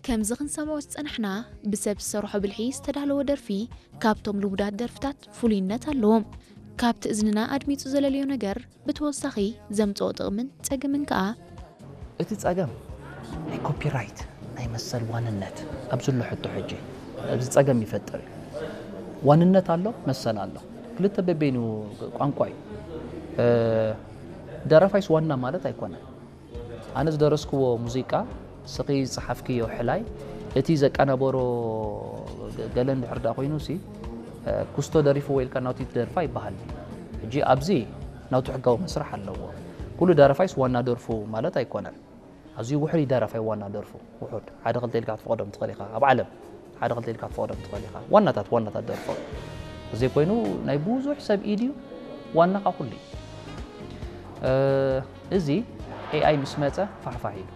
ከምዚ ክንሰምዖ ዝጸናሕና ብሰብ ዝሰርሖ ብልሒ ዝተዳለወ ደርፊ ካብቶም ልሙዳት ደርፍታት ፍሉይነት ኣለዎም። ካብቲ እዝንና ኣድሚጹ ዘለለዮ ነገር ብተወሳኺ ዘምጽኦ ጥቕምን ጸገምን ከኣ እቲ ጸገም ናይ ኮፒራይት ናይ መሰል ዋንነት ኣብ ዘሎ ሕቶ ሕጂ ኣብዚ ጸገም ይፈጥር እዩ። ዋንነት ኣሎ፣ መሰል ኣሎ። ክልተ በበይኑ ቋንቋ እዩ። ደረፋይስ ዋና ማለት ኣይኮነን። ኣነ ዝደረስክዎ ሙዚቃ ስኺ ዝጸሓፍክዮ ሕላይ እቲ ዘቀናበሮ ገለ እንድሕር ደኣ ኮይኑ ሲ ኩስቶ ደሪፍዎ ኢልካ ናቱ ትደርፋ ይበሃል። ሕጂ ኣብዚ ናቱ ሕጋዊ መስርሕ ኣለዎ። ኩሉ ደረፋይስ ዋና ደርፉ ማለት ኣይኮነን። ኣዝዩ ውሕድ ደረፋይ ዋና ደርፉ ውሑድ ሓደ ክልተ ኢልካ ክትፈቕዶም ትኽእል ኢኻ። ኣብ ዓለም ሓደ ክልተ ኢልካ ክትፈቕዶም ትኽእል ኢኻ። ዋናታት ዋናታት ደርፎ እዘይ ኮይኑ ናይ ብዙሕ ሰብ ኢድ እዩ ዋና ካ ኩሉ እዩ። እዚ ኤኣይ ምስ መፀ ፋሕፋሕ ኢሉ።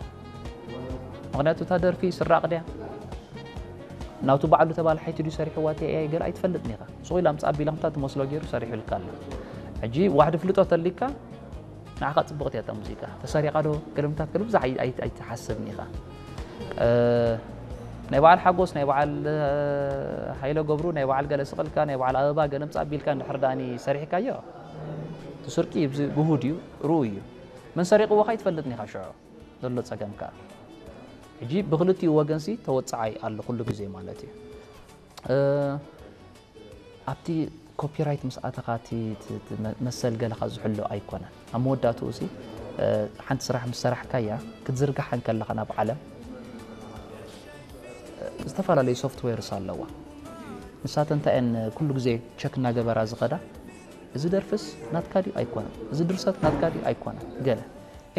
ምክንያቱ እታ ደርፊ ስራቕ ድያ ናቱ ባዕሉ ተባልሓይቲ ድዩ ሰሪሕዋ እቲ ኤኣይ ገለ ኣይትፈልጥን ኢኻ። ሱቕ ኢላ ምፃ ኣቢላ ከምታ ትመስሎ ገይሩ ሰሪሑልካ ኣሎ። ሕጂ ዋሕዲ ፍልጦ ተሊካ ንዓኻ ፅቡቕቲ እያ እታ ሙዚቃ ተሰሪቓ ዶ ገለምታት ገለ ብዙሕ ኣይትሓስብን ኢኻ። ናይ በዓል ሓጎስ ናይ በዓል ሃይለ ገብሩ ናይ በዓል ገለ ስቕልካ ናይ በዓል ኣበባ ገለ ምፃ ኣቢልካ እንድሕር ዳኒ ሰሪሕካዮ እቲ ስርቂ ግሁድ እዩ ርኡ እዩ። መን ሰሪቕዎ ካ ይትፈልጥን ኢኻ ሽዑ ዘሎ ጸገም ከኣ ሕጂ ብክልቲኡ ወገንሲ ተወጻዓይ ኣሎ ኩሉ ግዜ ማለት እዩ። ኣብቲ ኮፒራይት ምስ ኣተኻ እቲ መሰል ገለኻ ዝሕሎ ኣይኮነን። ኣብ መወዳእትኡ ሲ ሓንቲ ስራሕ ምስ ሰራሕካያ ክትዝርግሓ እንከለኻ ናብ ዓለም ዝተፈላለዩ ሶፍትዌርስ ኣለዋ። ንሳተን እንታይ እየን ኩሉ ግዜ ቸክ እናገበራ ዝኸዳ? እዚ ደርፍስ ናትካ ድዩ ኣይኮነን? እዚ ድርሰት ናትካ ድዩ ኣይኮነን? ገለ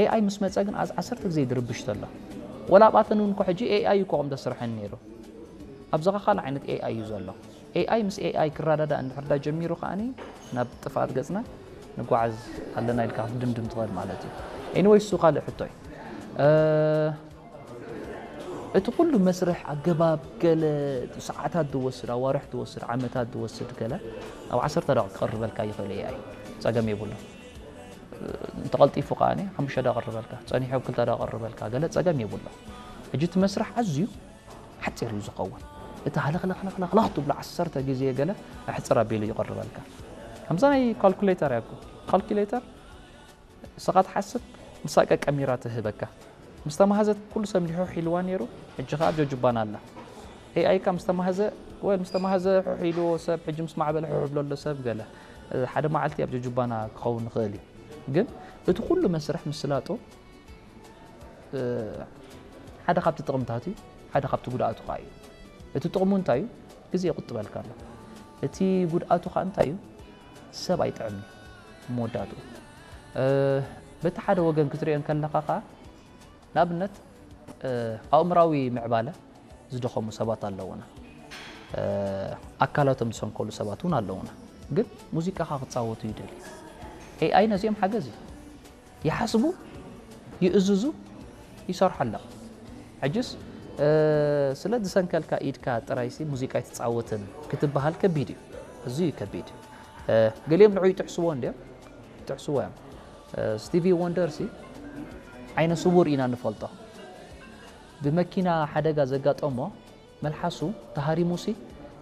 ኤኣይ ምስ መፀ ግን ኣዝ ዓሰርተ ግዜ ድርብሽ ተሎ። ወላ ኣብኣተን እውን እኮ ሕጂ ኤኣይ እዩ እኮ ከም ዘስርሐን ነይሩ። ኣብዛ ኸ ካልእ ዓይነት ኤኣይ እዩ ዘሎ። ኤኣይ ምስ ኤኣይ ክረዳዳእ እንድሕር ዳ ጀሚሩ ከኣኒ ናብ ጥፍኣት ገፅና ንጓዓዝ ኣለና ኢልካ ክትድምድም ትኽእል ማለት እዩ። ኤኒወይ እሱ ካልእ ሕቶ እዩ። እቲ ኩሉ መስርሕ ኣገባብ ገለ ሰዓታት ዝወስድ ኣዋርሕ ዝወስድ ዓመታት ዝወስድ ገለ ኣብ ዓሰርተ ደቂቕ ክቕርበልካ ይኽእል ኤኣይ ጸገም የብሉ። እንተቐልጢፉ ከኣ ሓሙሽተ ደቂቕ ክቕርበልካ ጸኒሑ ኣብ ክልተ ደቂቕ ክቕርበልካ ገለ ጸገም የብሉ። ሕጂ እቲ መስርሕ ኣዝዩ ሓጺር እዩ ዝኸውን። እቲ ሃለኽለኽለኽለኽ ትብሎ ዓሰርተ ግዜ ገለ ኣሕጽር ኣቢሉ ይቕርበልካ። ከምዛ ናይ ካልኩሌተር እያ እኮ ካልኩሌተር ንስኻ ትሓስብ ንሳ ቀቀሚራ ትህበካ። ምስ ተማህዘት ኩሉ ሰብ እንዲሑ ሒልዋ ነይሩ ሕጂ ኸኣ ኣብ ጀጁባና ኣላ። ኤኣይ ካ ምስ ተማህዘ ወል ምስ ተማህዘ ሑሕ ኢልዎ ሰብ ሕጂ ምስ ማዕበለ ሑሕ ብሎ ኣሎ ሰብ ገለ ሓደ መዓልቲ ኣብ ጀጁባና ክኸውን ይኽእል እዩ። ግን እቲ ኩሉ መስርሕ ምስላጡ ሓደ ካብቲ ጥቕምታት እዩ፣ ሓደ ካብቲ ጉድኣቱ ከዓ እዩ። እቲ ጥቕሙ እንታይ እዩ? ግዜ ይቁጥበልካ ኣሎ። እቲ ጉድኣቱ ከዓ እንታይ እዩ? ሰብ ኣይጥዕም እዩ መወዳእቱ። በቲ ሓደ ወገን ክትሪኦ እንከለካ ከዓ ንኣብነት ኣእምራዊ ምዕባለ ዝደኸሙ ሰባት ኣለውና። ኣካላቶም ዝሰንከሉ ሰባት እውን ኣለውና። ግን ሙዚቃኻ ክፃወቱ ይደልዩ። ኤኣይ ነዚኦም ሓገዝ እዩ። ይሓስቡ፣ ይእዝዙ፣ ይሰርሑ ኣለዉ። ሕጅስ ስለ ዝሰንከልካ ኢድካ ጥራይሲ ሙዚቃ ኣይትፃወትን ክትበሃል ከቢድ እዩ። እዚ እዩ ከቢድ። ገሊኦም ንዑ ይጥሕስዎ እንዲዮም፣ ይጥሕስዎ እዮም። ስቲቪ ወንደር ሲ ዓይነ ስውር ኢና ንፈልጦ። ብመኪና ሓደጋ ዘጋጠሞ መልሓሱ ተሃሪሙሲ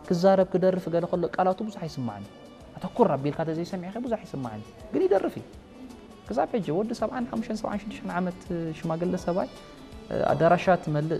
ክዛረብ ክደርፍ ገለ ከሎ ቃላቱ ብዙሕ ኣይስማዕን እዩ። ኣተኩር ኣቢልካ ተዘይሰሚዕኸ ብዙሕ ኣይስማዕን እዩ። ግን ይደርፍ እዩ። ክሳብ ሕጂ ወዲ ሰብዓን ሓሙሽተን ሰብዓን ሽዱሽተን ዓመት ሽማግለ ሰብኣይ ኣዳራሻት መልእ